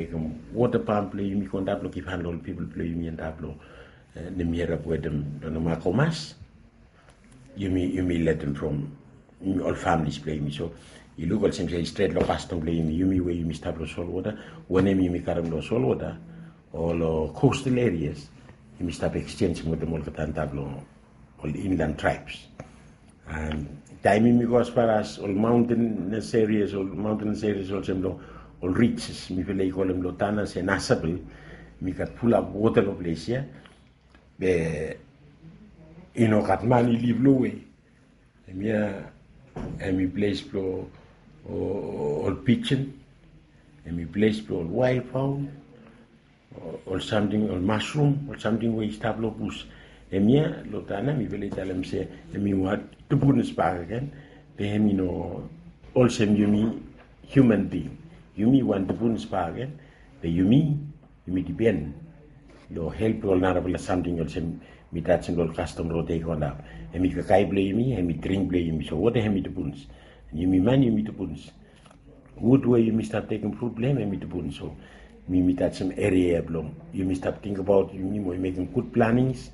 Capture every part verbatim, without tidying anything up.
mekem wota pamp blong yumi go antap long givhan long ol pipol blong yumi antap long Nimiherep wetem long Namakomas. Yumi yumi letem from ol familis blong yumi. So yu luk olsem se i stret long kastom blong yumi, yumi we yumi stap long solwota, wanem yumi karem long solwota o long coastal areas, yumi stap exchange wetem olgeta antap long ol inland tribes. And taem yumi go as far as ol mountainous areas, ol mountainous areas olsem long ol ridges, mifala i kolem long Tanna se Nasabel, mi gat fulap wota long ples ya. Be i no gat man i liv lowe. Hemia hemi ples blong ol pijen, hemi ples blong ol wael faol, ol samting, ol masrum, ol samting we i stap long bus. Hemia long Tanna mifala i talem se hemi wan tupunis bakegen. Be hemi no olsem yumi human being. Yumi wan tupunis bakegen. Be yumi yumi dipen long help blong ol narafala samting olsem mi tajem long ol kastom rod ya i go antap. Hemi kakae blong yumi, hemi dring blong yumi. So wota hemi tupunis. Yumi man yumi tupunis. Wud we yumi stap tekem frut blong hem hemi tupunis. So mi mi tajem eria ya blong yumi stap tingbaot yumi mo mekem gud planings.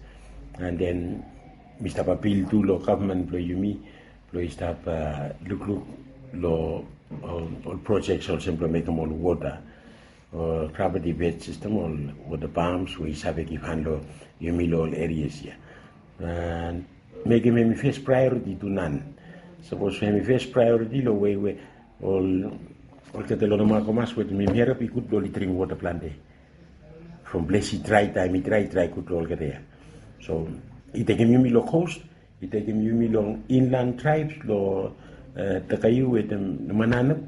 And then mi stap apil tu long gavman blong yumi blong i stap lukluk long ol projects olsem blong mekem ol wota, ol gravity fed system, ol wota pumps we i save givhan long yumi long ol areas ya. And mekem hemi fes priority tu nan. Sapos hemi fes priority long wei we ol olgeta long Namakomas wetem Nimiherep i gud blong oli dring wota plante. From ples i drae, taem i drae i drae gud long olgeta ya. So i tekem yumi long coast, i tekem yumi long inland tribes long Takahiu wetem Mananap.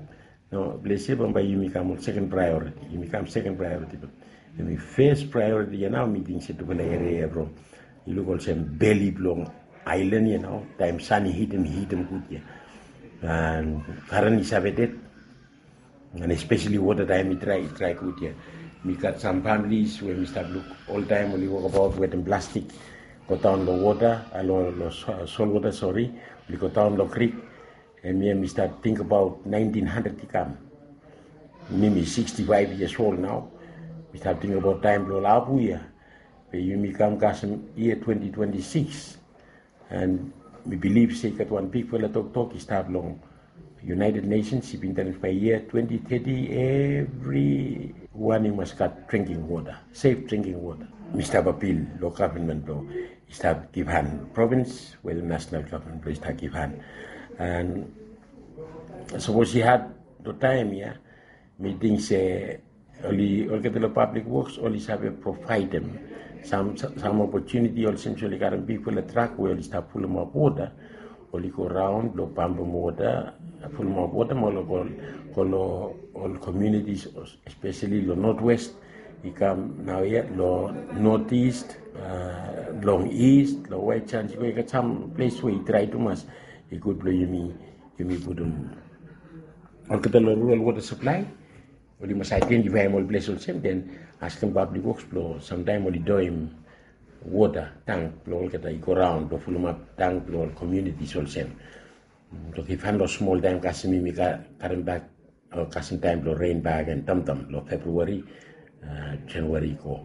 No, ples ya bambae yumi kam ol second priority. Yumi kam second priority. Be hemi fes priority ya nao mi ting se tufala eria ya from i luk olsem beli blong aelan ya nao, taem san i hitem i hitem gud ya. And karen i save ded. And espeseli wota taem i drae i drae gud ya. Mi gat sam familis we mi stap luk oltaem oli wokbaot wetem plastik, godaon long wota, long solwota, sori, oli godaon long krik. Hemia mi stap tingbaot naentin handred i kam. Mi mi siksti faef yias ol nao. Mi stap tingbaot taem blong ol apu ya. Be yumi kam kasem yia twenti twenti sikis. And mi bilif se i gat wan bigfala toktok i stap long United Nations, i bin talem se bae yia twenti teti evriwan i mas gat drinking wota, sef drinking wota. Mi stap apil long gavman blong i stap givhan, provins wetem nasenal gavman blong i stap givhan. And sapos i had long taem ya, mi ting se oli, olgeta long pablik woks oli save provaedem sam opotuniti olsem se oli karem bigfala trak we oli stap fulumap wota, oli go raon blong pampem wota, fulumap wota mo oli go long ol komunitis, espeseli long notwest, i kam naoia long notis, long is, long waet sans i go, i gat sam ples we i drae tumas. I gud blong yumi, yumi putum olgeta long rural wota saplae. Oli mas aedentifaem ol ples olsem, den askem pablik woks blong samtaem oli doem wota tank blong olgeta i go raon blong fulumap tank blong ol komunitis olsem. Givhan long smol taem kasem yumi karembak, kasem taem blong ren bakegen tamtam long Februari, Januari i go,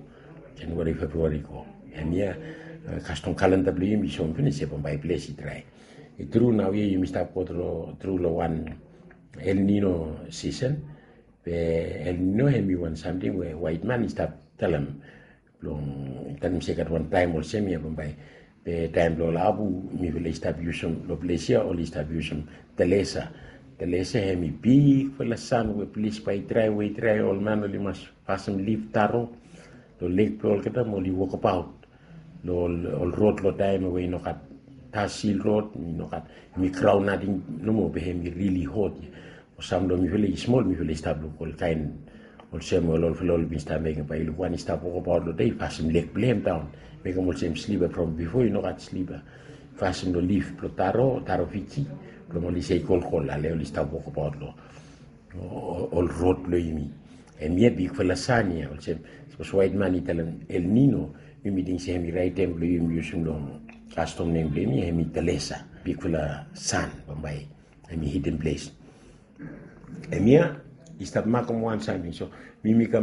Januari, Februari i go. Hemia kastom kalenda blong yumi i soem finis se bambae ples i drae. I tru naoia yumi stap go tru long wan El Nino sisen. Be El Nino hemi wan samting we waetman i stap talem, blong talem se i gat wan taem olsem ya bambae. Be taem blong ol apu mifala i stap yusum long ples ya, oli stap yusum telesa. Telesa hemi bigfala san we ples bae i drae, we i drae, ol man oli mas fasim lif taro long leg blong olgeta mo oli wokbaot long ol rod long taem we i no gat tar sil rod, i no gat, hemi graon nating nomo, be hemi rili hot ya. Sam long mifala i smol, mifala i stap luk olkaen olsem ol olfala oli bin stap mekem, bae i luk wan i stap wokbaot long dei, i fasim leg blong hem daon, mekem olsem slipa, from bifo i no gat slipa. Fasim long lif blong taro, taro Fiji, blong oli sei kolkol, ale oli stap wokbaot long ol rod blong yumi. Hemia bigfala san ya, olsem sapos waetman i talem El Nino, yumi ting se hemi raet taem blong yumi yusum long kastom nem blong yumi, hemi telesa, bigfala san bambae hemi hitim ples. Hemia i stap makem wan samting. So mi mi kam